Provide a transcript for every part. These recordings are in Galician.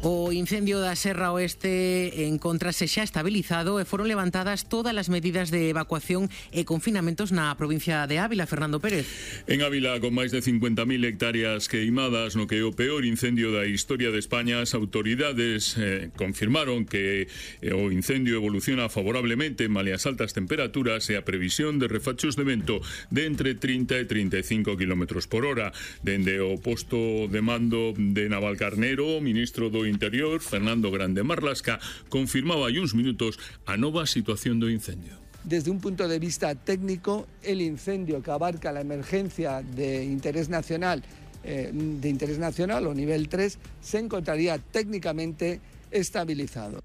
O incendio da Serra Oeste encontrase xa estabilizado e foron levantadas todas as medidas de evacuación e confinamentos na provincia de Ávila. Fernando Pérez. En Ávila, con máis de 50.000 hectáreas queimadas no que é o peor incendio da historia de España, as autoridades confirmaron que o incendio evoluciona favorablemente malia as altas temperaturas e a previsión de refachos de vento de entre 30 e 35 km por hora. Dende o posto de mando de Navalcarnero, o ministro do Interior, Fernando Grande Marlasca, confirmaba hai uns minutos a nova situación do incendio. Desde un punto de vista técnico, el incendio que abarca la emergencia de interés nacional o nivel 3 se encontraría técnicamente estabilizado.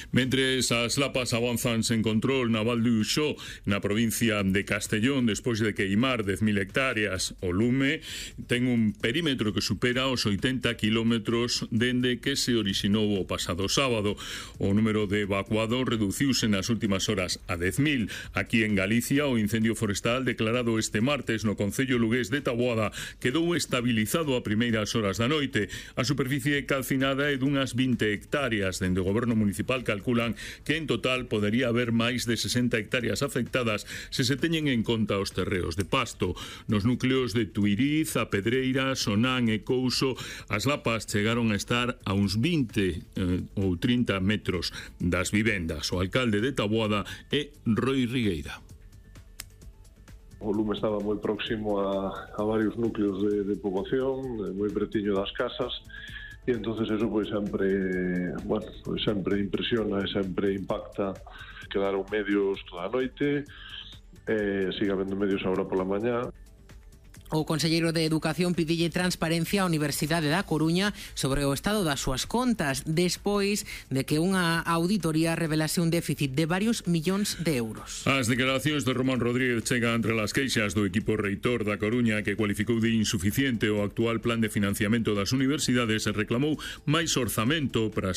Mentres as lapas avanzan sen control na Val de Uxó, na provincia de Castellón, despois de queimar 10.000 hectáreas, o lume ten un perímetro que supera os 80 kilómetros dende que se orixinou o pasado sábado. O número de evacuados reduciuse nas últimas horas a 10.000. Aquí en Galicia, o incendio forestal declarado este martes no concello lugués de Taboada quedou estabilizado a primeiras horas da noite. A superficie calcinada é dunhas 20 hectáreas, dende o goberno municipal calculan que en total podería haber máis de 60 hectáreas afectadas se se teñen en conta os terreos de pasto. Nos núcleos de Tuiriz, A Pedreira, Sonán e Couso, as lapas chegaron a estar a uns 20 ou 30 metros das vivendas. O alcalde de Taboada é Roi Rigueira. O lume estaba moi próximo a varios núcleos de poboación, moi pretiño das casas, e entonces eso sempre impresiona e sempre impacta. Quedaron medios toda a noite, sigue habendo medios agora pola mañá. O conselleiro de Educación pidille transparencia á Universidade da Coruña sobre o estado das súas contas despois de que unha auditoría revelase un déficit de varios millóns de euros. As declaracións de Román Rodríguez chegan entre as queixas do equipo reitor da Coruña, que cualificou de insuficiente o actual plan de financiamento das universidades e reclamou máis orzamento para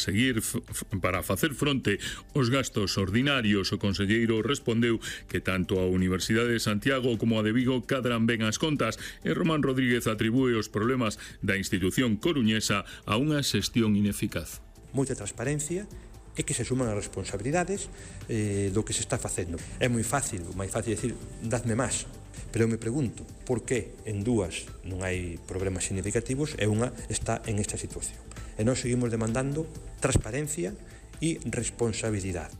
facer fronte aos gastos ordinarios. O conselleiro respondeu que tanto a Universidade de Santiago como a de Vigo cadran ben as contas, e Román Rodríguez atribúe os problemas da institución coruñesa a unha xestión ineficaz. Moita transparencia e que se suman as responsabilidades do que se está facendo. É moi fácil decir, dadme máis, pero eu me pregunto por que en dúas non hai problemas significativos e unha está en esta situación. E nós seguimos demandando transparencia e responsabilidade.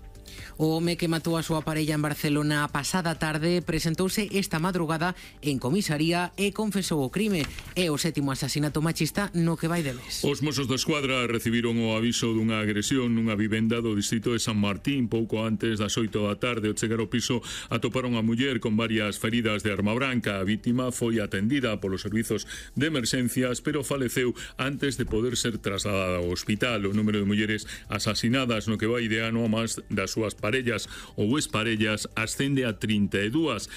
O home que matou a súa parella en Barcelona a pasada tarde presentouse esta madrugada en comisaría e confesou o crime. É o 7º asasinato machista no que vai de mes. Os Mossos da Escuadra recibiron o aviso dunha agresión nunha vivenda do distrito de San Martín pouco antes das 8 da tarde. Ao chegar ao piso atoparon a muller con varias feridas de arma branca. A vítima foi atendida polos servizos de emerxencias, pero faleceu antes de poder ser trasladada ao hospital. O número de mulleres asasinadas no que vai de ano a máis das súas parellas ou exparellas ascende a 32.